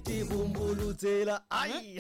Tivumbulutsela ai.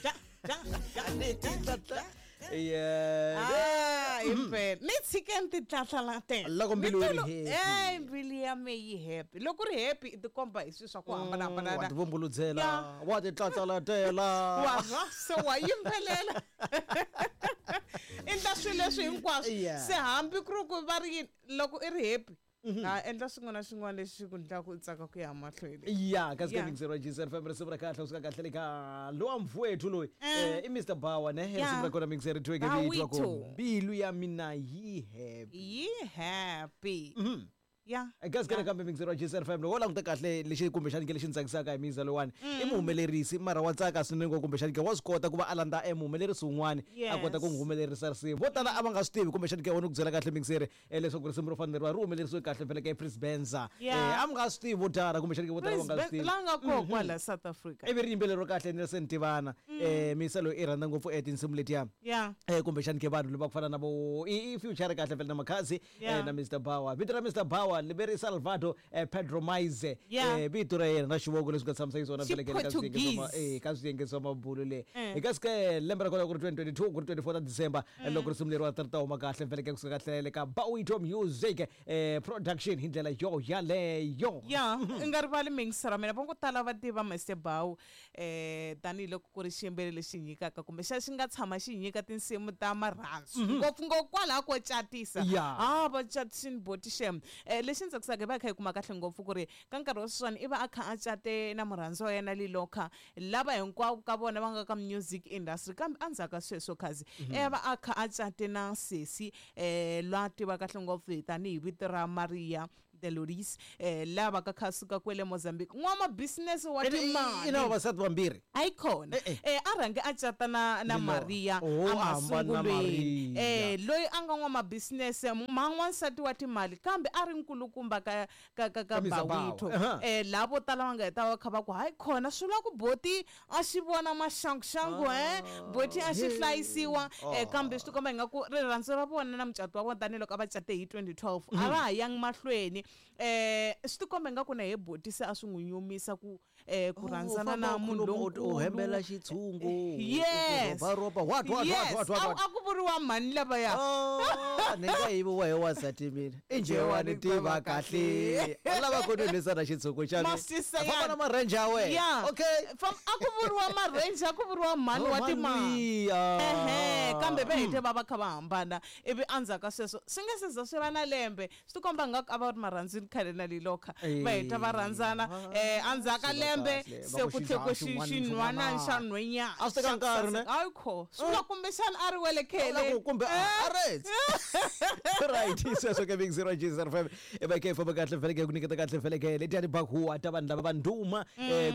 Ja, ja, ja, Ni ja, titlatla. ja. Yeah. Ah, impela ni tshikeni titlatlalatela Loko mbilu yi ri happy. e mbilu ya me yi happy. Loko ri happy i tikomba hi swilo swa ku Wa hambanahambana. tivumbuludzela, Ya. wa titlatlalatela. Wa swa se wa yimbelela, endla swilo leswi hinkwaswo. Yeah. Se hambi ku ri ku va ri yini, loko i ri happy, ha endla swin'wana na swin'wana lexi xi ku endlaka u tsaka ku ya mahlweni. Ya, kasi Yeah. ke mixero GCR FM, risimu ra kahle usuka kahle le ka lowa mfowethu loyi, i Mr Bawa ne. Risimu ra kona mixero tweke vitwa ku Bawito. mbilu ya mina yi happy. Yi happy, ya. Kasi ke nakambe mixero wa GCR FM, loko wo languta kahle lexi kumbexani ke lexi ni tsakisaka hi miza lowani, i muhumelerisi, mara wa tsaka swinene ngopfu. Kumbexani ke wa swi kota ku va a landza e muhumelerisi wun'wani, a kota ku n'wi humelerisa risimu. Vo tala a va nga swi tivi kumbexani ke wona ku byela kahle mixeri, leswaku risimu ro fana leriwa ri humelerisiwe kahle vhele ka Prince Benza. A mi nga swi tivi vo tala, kumbexani ke vo tala va nga swi tivi. La nga koho kwala South Africa. Ivi ri yimbeleriwa kahle Nelson Tivana. Misa loyi i rhandza ngopfu tinsimu letiya, kumbexani ke vanhu lava ku fana na vo i future kahle vhele na Makhadzi, na Mr Bawa. Vito ra Mr Bawa leri Salvador Pedro Maize, vito ra yena na xivongo leswi nga tshamisa xiswona vhele ke ka swiyenge swa ka swiyenge swa mabulu le. Hi kasi ke lembe ra kona ku ri 2022, ku ri 24 ta December, loko risimu leriwa ri ta huma kahle vhele ke kusuka kahle le ka Bawito Music Production hi ndlela yo yaleyo. Ya, i nga rivali mingisera mina, va ngo tala va tiva Mr Bow tanihiloko ku ri xiyimbeleri lexi nyikaka kumbe xa xi nga tshama xi nyika tinsimu ta marhandzu, ngopfungopfu kwalaho ko catisa. Ah, va catisini boti xem. Lexi ni tsakisaka, hi va hi kha hi kuma kahle ngopfu ku ri ka nkarhi wa sweswiwani i va a kha a cate na murhandzi wa yena Liloka, lava hinkwavo ka vona va nga ka music industry. Kambe endzhaku ka sweswo khazi i va a kha a cate na sesi lwa tiva kahle ngopfu hi tanihi vito ra Maria Deloris, lava ka kha suka kwele Mozambique, n'wamabisinese wa I na timali. vavasati vambirhi. Ayikhona. Eh, eh. A rhange a cata na Lilo. Maria. Oh, a hambana na emasungulweni. Maria. Loyi a nga n'wamabisinese ma n'wansati wa timali, kambe a ri nkulukumba ka Ka Mr. Bawa. Bawito. Lavo tala va nga heta va kha va ku hayi khona swi vula ku boti a xi vona maxanguxangu, boti a xi hlayisiwa. Kambe swi tikomba ingaku rirhandzu ra vona na mucato wa vona, tanihiloko a va cate hi 2012, a va ha yangi mahlweni. Swi tikomba ingaku na he boti se a swi n'wi nyumisa ku rhandzana na munhu U hembela lonkulu. xitshungu. Yes. Ropa what what? Yes. What what what? A ku vuriwa mhani lavaya. Oh, ni nga yiviwa hi wansati mina i njhe wa ni tiva kahle, u lava ku ni lwisana xitshungu xa mina. Masisa Famba na marenje ya wena. Okay. A ku vuriwa marenje, a ku vuriwa mhani wa timali. Mali. Ehe, kambe va hete va va kha va hambana, ivi endzhaku ka sweswo swi nga se za swi va na lembe, swi tikomba ngaku a va ri marhandzini khale na Liloka, va heta va rhandzana endzhaku ka Swi va lembe kahle. Va se ku ku tlhe ku xidlaya xin'wana xinhwanani xin'wana. xa nhwenyana. A swi teka nkarhi, ne? Hayi kho, swi vula kumbexana a ri wele khele. Kumbe a retse right. Sweswo ke big 0 G 05 e va ke famba kahle vhele ke ku nyiketa kahle vhele ke letiya tibakuwa ta vanhu lava va ndhuma,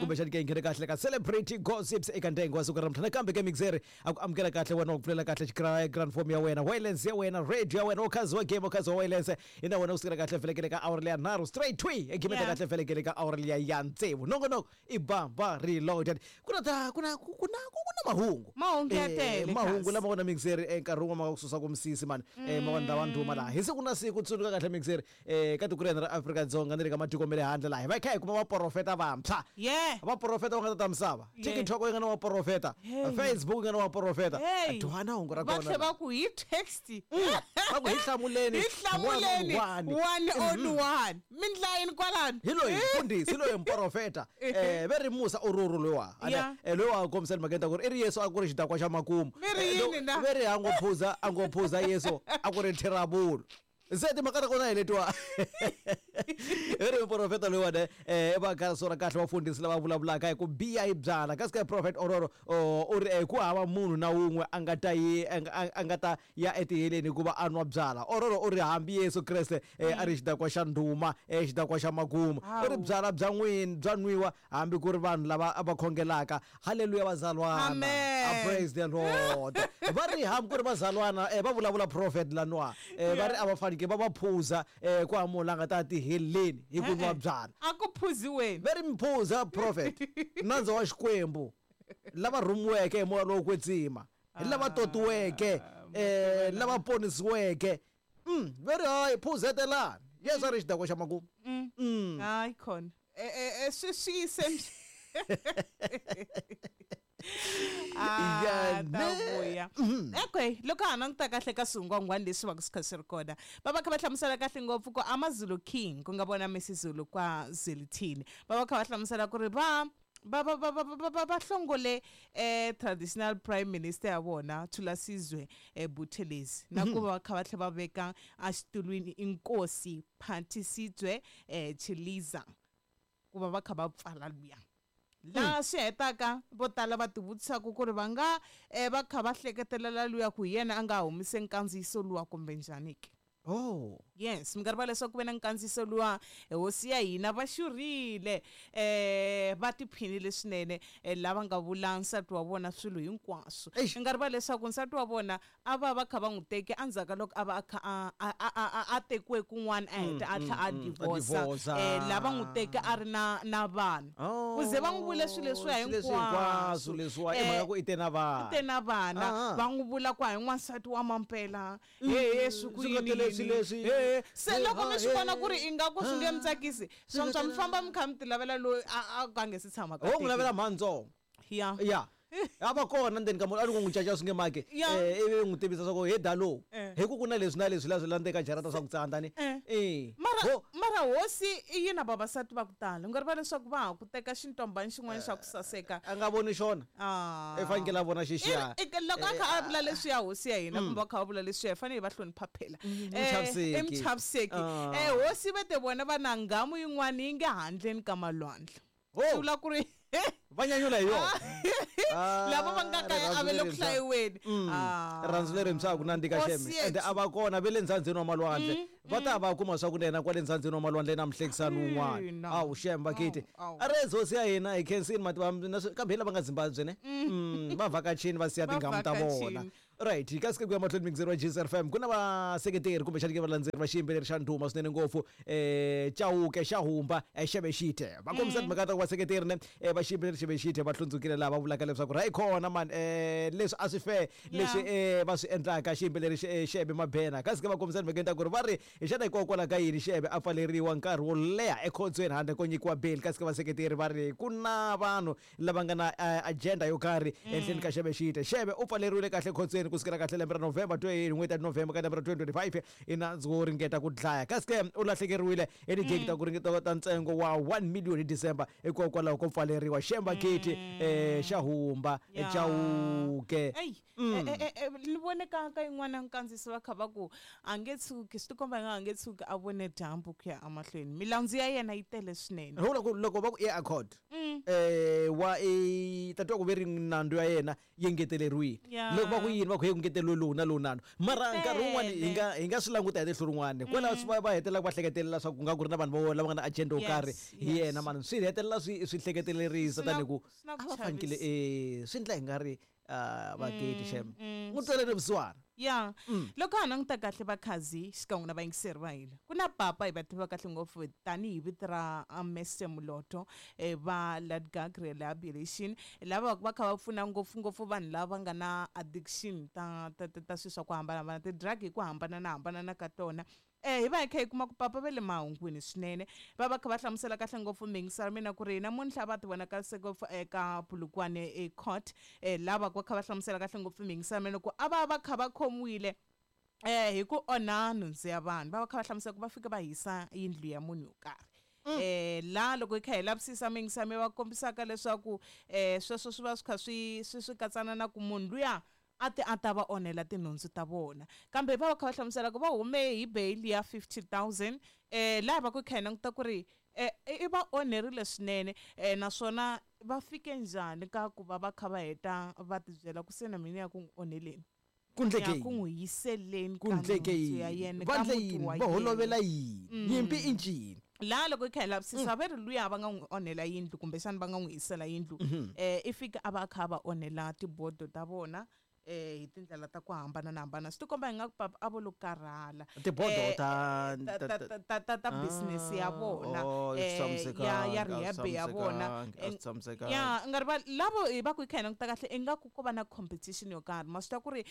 kumbexani ke nghene kahle ka celebrity gossips eka ntengo wa siku ra namuntlha. Nakambe ke mixeri a ku amukela kahle wena, wa ku pfulela kahle grand form ya wena, wireless ya wena, radio ya wena, okhazi wa game, okhazi wa wireless ina wena usukela kahle vhele ke le ka hour leya nharhu straight twi egimeta kahle vhele ke le ka hour leya ya tsevu. Nongonoko i Bamba Reloaded. Ku na ta ku na mahungu. Mahungu ya tele, mahungu kasi. lama kona mixeri, nkarhi wun'wana ma nga ku susa ku misisi mani, ma vanhu lava ndhuma laha hi siku na siku. Tsundzuka kahle mixeri, ka tiko ra hina ra Afrika-Dzonga ni le ka matiko ma le handle laha hi va hi kha hi kuma vaprofeta vantshwa, vaprofeta va nga ta ta misava. TikTok yi nga na vaprofeta, Facebook yi nga na vaprofeta. Hey. Dwana hungu ra Va tlhe kona. va ku hi text. Va ku hi hlamuleni. Hi hlamuleni. One on one. One on one, mi ndla yini kwalano? Hi loyi mfundhisi, hi loyi muprofeta, ve ri Musa Ururu loyiwa. Loyi wa kombisela mhaka ta ku ri i ri Yesu a ku ri xidakwa xa makumu. Mi ri yini na? Ve ri a ngo phuza Yesu a ku ri thirabulu. Se timhaka ta kona hi letiwa, i ri muprofeta loyiwani, va ka kahle vafundhisi lava vulavulaka hi ku biha hi byala. Kasi ka Prophet Ororo u ri ku hava munhu na wun'we a nga ta yi a nga ta ya etiheleni hikuva a nwa byala. Ororo u ri hambi Yesu Kreste a ri xidakwa xa ndhuma, xidakwa xa makumu. U ri byala bya n'wini bya nwiwa hambi ku ri vanhu lava va khongelaka. Halleluya vazalwana. Amen. Ah, praise the Lord. Va ri hambi ku ri vazalwana, va vulavula prophet laniwa, va ri a va faneke va va phuza, ku hava munhu la nga ta tiheleni hi ku nwa byala. A ku phuziweni. Ve ri mphuza prophet nandza wa Xikwembu, lava rhumiweke hi moya lowo kwetsima, hi lava totiweke, lava ponisiweke. Ve ri hayi, phuzetelani, Yesu a ri xidakwa xa makumu. Hayi khona, swi swi yise. Ah, Ya, ta ne. vuya okay loko ha languta kahle ka swingwangwani leswi va swi kha swi ri kona va va kha va hlamusela kahle ngopfu ku amazulu king ku nga vona misizulu kwa Zwelithini va va kha va hlamusela ku ri va va va va va va va va hlongole traditional prime minister ya vona Thulasizwe Buthelezi na ku va kha va tlhela va veka exitulwini inkosi Phathisizwe Chiliza ku va va kha va pfala luya laha swi hetaka vo tala va tivutisaka ku ri va nga va kha va hleketelela luya ku hi yena a nga humise nkandziyiso luwa kumbe njhani ke. Oh. Yes, mi nga rivala leswaku ku ve na nkandziyiso luwa hosi ya hina va xurile va tiphinile swinene lava nga vula nsati wa vona swilo hinkwaswo. Eish. Mi nga rivala leswaku nsati wa vona a va va kha va n'wi teke endzhaku ka loko a va a kha a tekiwe kun'wana a heta a tlhela a divorce. Divorce. Lava n'wi teke a ri na vana. Oh, Ku ze va n'wi vule swilo leswiya swilo leswi hinkwaswo hinkwaswo. leswiwa i mhaka ku i te na vana. I te na vana. Ah. Va n'wi vula ku a hi n'wansati wa mampela. He, swi ku Swi nga yini tele yini. swilo leswi. He, se He, loko ha, mi swi he. vona ku ri ingaku swi nge mi tsakisi, swa mi famba mi kha mi ti lavela loyi a ka nge se tshama ka Ho n'wi teki. lavela mhantsongo. Ya. Ya. A va kona ndzeni ka munhu a ri ku n'wi caca swi nge maki. Ya. Ivi n'wi tivisa swa ku he dalo. Eh. Hi ku ku na leswi na leswi la swi landzeka jarata swa ku tsandza ni. Eh. Eh. Mara Ho. mara hosi i yi na vavasati va ku tala. U nga rivala leswaku va ha ku teka xintombani xin'wana xa ku saseka. A nga voni xona. Ah. I fanekele a vona xexiya. Loko a kha a vula leswiya hosi ya hina kumbe a kha a vula leswiya hi fanele hi va hlonipha phela. Muchaviseki. I muchaviseki. Ah. Hosi va te vona va na nghamu yin'wana yi nge handleni ka malwandle. Ho. Swi vula ku ri Va nyanyula hi yona. Ah, lava va nga kaya a va le ku rirhandzu lerintshwa. hlayiweni. Ah. Rirhandzu lerintshwa a ku nandzika Hosi xeme. yethu. Ende a va kona ve le ndzhandzeni wa malwandle. Va ta va kuma swa ku na yena kwale ndzhandzeni wa malwandle na muhlekisani wun'wana. Ina. Awu xem bakiti. Awu, awu. A ri hosi ya hina hi khensini mativa na kambe hi lava nga Zimbabwe ne. Va vhakachini va siya Va tinghamu ta vona. vhakachini. Right, kasi ke ku ya mahlweni mixeri wa GCR FM ku na vaseketeri kumbexani ke valandzeri va xiyimbeleri xa ndhuma swinene ngopfu Chauke xa Humba Xebexite va kombisa timhaka ta ku vaseketeri ne va xiyimbeleri Xebexite va hlundzukile laha va vulaka leswaku ra yi kona man leswi a swi fair leswi va swi endlaka xiyimbeleri Xebe Mabena kasi ke va kombisa timhaka ta ku ri va ri xana hikokwalaho ka yini Xebe a pfaleriwa nkarhi wo leha ekhotsweni handle ko nyikiwa bail kasi ke vaseketeri va ri ku na vanhu lava nga na agenda yo karhi ehenhleni ka Xebexite. Xebe u pfaleriwile kahle ekhotsweni kusukela kahle lembe ra November 20 n'hweti ya November ka lembe ra 2025 i nandzu wo ringeta ku dlaya kasi ke u lahlekeriwile hi tigigi ta ku ringeta ta ntsengo wa 1 million hi December hikokwalaho ko pfaleriwa. Xemba Kiti xa Humba Ya. Chauke. Eyi, ni vone ka yin'wana nkandziyiso va kha va ku a nge tshuki swi tikomba nga a nge tshuki a vone dyambu ku ya emahlweni milandzu ya yena yi tele swinene. Hi vula ku loko va ku i accord wa i tatiwa ku ve ri nandzu ya yena yi engeteleriwile. Ya. Loko va ku yini va ku he ku ngeteleriwe lowu na lowu nandzu mara nkarhi wun'wani Tele. hi nga swi languta hi tihlo rin'wani kwalaho swi va hetelela va hleketelela swa ku nga ku ri na vanhu vo lava nga na agenda yo Yes, karhi hi yes. yena mani swi hetelela swi hleketelerisa Swi na tanihi ku swi na ku a va fanekele chavisa. swi endla hi nga ri vaketi xem n'wi tweleni vusiwana. Ya. Loko ha languta kahle vakhazi xikan'we na vayingiseri va hina ku na papa hi va tiva kahle ngopfu tanihi vito ra Mr Muloto va Ladgag Rehabilitation lava va kha va pfuna ngopfungopfu vanhu lava nga na addiction ta swilo swa ku hambanahambana ti-drug hi ku hambanahambana ka tona. Hi va hi kha hi kuma ku papa va le mahungwini swinene va va kha va hlamusela kahle ngopfu miyingiselo mina ku ri namuntlha va ti vonakalise ngopfu eka Polokwane court lava va kha va hlamusela kahle ngopfu miyingiselo mina ku a va va kha va khomiwile hi ku onha nhundzu ya vanhu va va kha va hlamusela ku va fika va hisa yindlu ya munhu yo karhi. La loko hi kha hi lavisisa miyingiselo mi va kombisaka leswaku sweswo swi va swi kha swi katsana na ku munhu luya a ti a ta va onhela tinhundzu ta vona kambe va va kha va hlamusela ku va hume hi bail ya 50,000 laha va ku kha hi languta ku ri i va onherile swinene naswona va fike njhani ka ku va va kha va heta va tibyela ku se na mina ya ku n'wi onheleni Ku ndleke ya ku yini? n'wi yiseleni Ku ka ndleke nhundzu ya yini? yena Va ka ndle muti yini? wa Va yena. holovela yini? Nyimpi i ncini? La loko hi kha hi lavisisa va ri luya va nga n'wi onhela yindlu kumbexana va nga n'wi hisela yindlu i fika a va a kha a va onhela tibodo ta vona hi tindlela ta ku hambanahambana swi tikomba hi nga ku papa a vo lo karhala Tibodo ta business ya vona Oh, ya rehab ya vona. Ya nga ri va lavo hi va ku hi kha hi languta kahle ingaku ko va na competition yo karhi ma swi tiva ku ri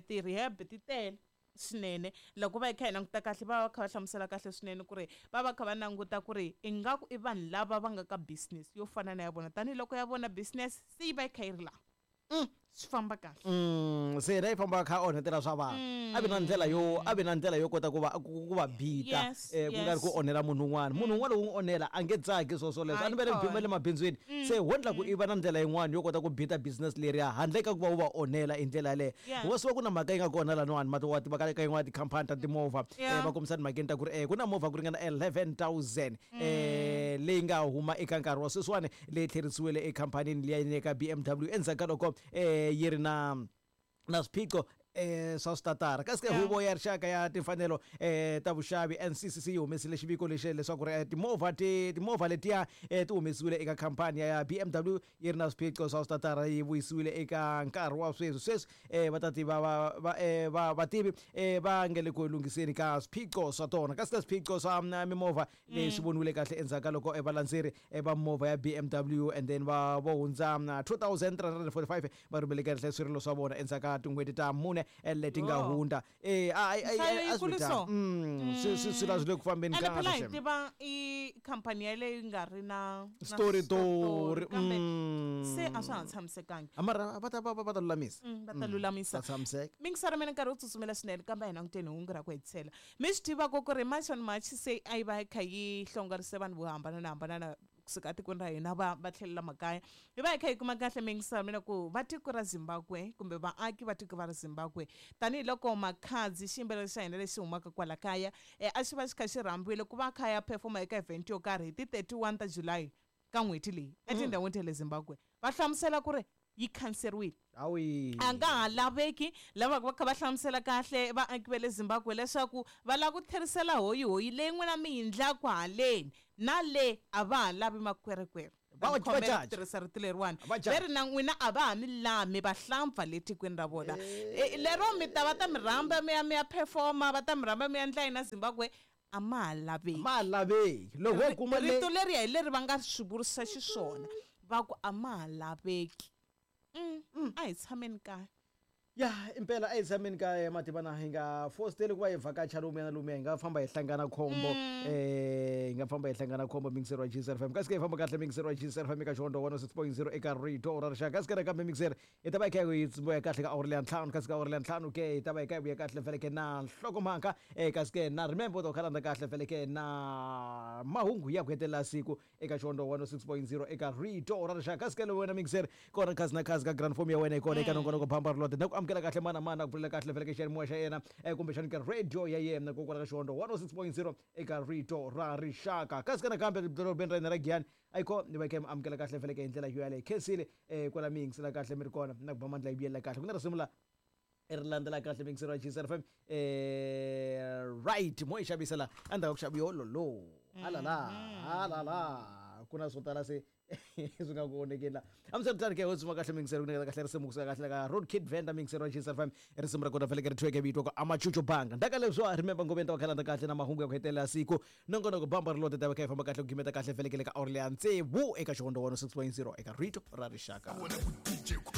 ti-rehab ti tele. Swinene loko va hi kha hi languta kahle, va va kha va hlamusela kahle swinene ku ri va va kha va languta ku ri ingaku i vanhu lava va nga ka business yo fana na ya vona, tanihiloko ya vona business se yi va yi kha yi ri laha. Swi famba kahle. Se yena yi famba kha onhetela swa vanhu. A vi na ndlela yo, a vi na ndlela yo kota ku va ku va bita, ku nga ri ku onhela munhu un'wana. Munhu un'wana loko u n'wi onhela a nge tsaki swo swoleswo. A ni va le mabindzwini. Se ho ndla ku i va na ndlela yin'wana yo kota ku bita business leriya handle ka ku va u va onhela hi ndlela yaleyo. Wa swi ku na mhaka yi nga kona laniwani mati wa tiva ka yin'wana tikhampani ta timovha, va kombisa timhakeni ta ku ri ku na movha ku ringana 11,000 leyi nga huma eka nkarhi wa sweswiwani, leyi tlherisiwile ekhampanini liya ya ka BMW endzhaku ka loko yi ri na swiphiqo swa switatara. Kasi ke huvo ya rixaka ya timfanelo ta vuxavi, NCCC, yi humesile xiviko lexi leswaku ri timovha ti timovha letiya ti humesiwile eka khampani ya BMW yi ri na swiphiqo swa switatara, yi vuyisiwile eka nkarhi wa sweswi. Sweswi va ta tiva va vativi va nge le ku lunghiseni ka swiphiqo swa tona. Kasi ka swiphiqo swa mimovha leyi swi voniwile kahle endzhaku ka loko valandzeri va movha ya BMW and then va vo hundza 2345 va rhumele kahle swirilo swa vona endzhaku ka tin'hweti ta mune leti nga hundza. A swi so. Swi swi swi le ku fambeni. Ene phela hi tiva i khampani yaleyo yi nga ri na story tori, kambe se a swa ha tshamisekangi. Mara va ta va ta lulamisa. Va ta lulamisa. Ta tshamiseka. Mingisara mina, nkarhi wu tsutsumela swinene, kambe a hi languteni hungu ra ku hetisela. Mi swi tivaka ku ri March on March se a yi va yi kha yi hlongorise vanhu vo hambananahambanana kusuka etikweni ra hina va tlhelela makaya. Hi va hi kha hi kuma kahle, mingisara mina, ku va tiko ra Zimbabwe kumbe vaaki va tiko va ra Zimbabwe, tanihiloko Makhadzi, xiyimbeleri xa hina lexi humaka kwala kaya, a xi va xi kha xi rhambiwile ku va kha ya performa eka event yo karhi hi ti 31 ta July ka n'hweti leyi etindhawini ta le Zimbabwe, va hlamusela ku ri yi khanseriwile. Awi. A nga ha laveki. Lava va kha va hlamusela kahle vaaki va le Zimbabwe leswaku va lava ku tlherisela hoyihoyi leyi n'wina mi yi ndlaku haleni na le, a va ha lavi makwerekwere. Va Khomela ku tirhisa rito leriwani. Va ve ri na n'wina a va ha mi lami vahlampfa le tikweni ra vona. Lero mi ta va ta mi rhamba mi ya performa, va ta mi rhamba mi ya ndla yina Zimbabwe, a ma ha laveki. Ma laveki loko wo kuma le. Rito leriya hi leri va nga swi vurisa xiswona, va ku a ma ha laveki. A hi tshameni kaya. Ya, impela a hi tshameni kaya. Mativana hi nga fositeli ku va hi vhakacha lomuya na lomuya, hi nga famba hi hlangana khombo. Hi nga famba hi hlangana khombo, mixer wa GCR FM. Kasi ke hi famba kahle, mixer wa GCR FM eka Xihondzo 106.0 eka rito ra rixaka. Kasi ke nakambe, mixer, hi ta va hi kha hi vuya kahle ka awuri leya ntlhanu. Kasi ka awuri leya ntlhanu ke hi ta va hi kha hi vuya kahle vhele ke na nhlokomhaka. Kasi ke na remember u ta kha landza kahle vhele ke na mahungu ya ku hetelela siku eka Xihondzo 106.0 eka rito ra rixaka. Kasi ke wena mixer kona khazi na khazi ka grand form ya wena hi kona eka nongonoko Bamba Rilode. Na ku amukela kahle mana mana ku pfulela kahle vhele ke xiyanimoya xa yena, kumbexani ka radio ya yena kokwala ka Xihondzo 106.0 eka rito ra rixaka. Kasi ka nakambe dorobeni ra hina ra Giyani ayikho ni va kha mi amukela kahle vhele ke hi ndlela yo yaleyo. Khensile kwala mi yingisela kahle mi ri kona na ku ba mandla yi vuyelela kahle ku na risimu la ri landzela kahle, mixer wa GCR FM. Right, mo yi xavisa la endzhaku ka ku xava yololo halala halala, ku na swo tala se swi nga ku onhekeni la. Amiswiritano ke, ho tsuma kahle mixer ku nyiketa kahle risimu kusuka kahle ka Road Kid Venda, mixer wa GCR FM. Risimu ra kona vhele ke ri thweke vito ku Amachucho Banga. Ndaka leswo remember ngopfu ta va kha kahle na mahungu ya ku hetelela siku. Nongonoko Bamba Rilode ta va kha yi famba kahle ku gimeta kahle vhele ke le ka awuri leya tsevu eka Xihondzo 106.0 eka rito ra rixaka. Wona ku DJ.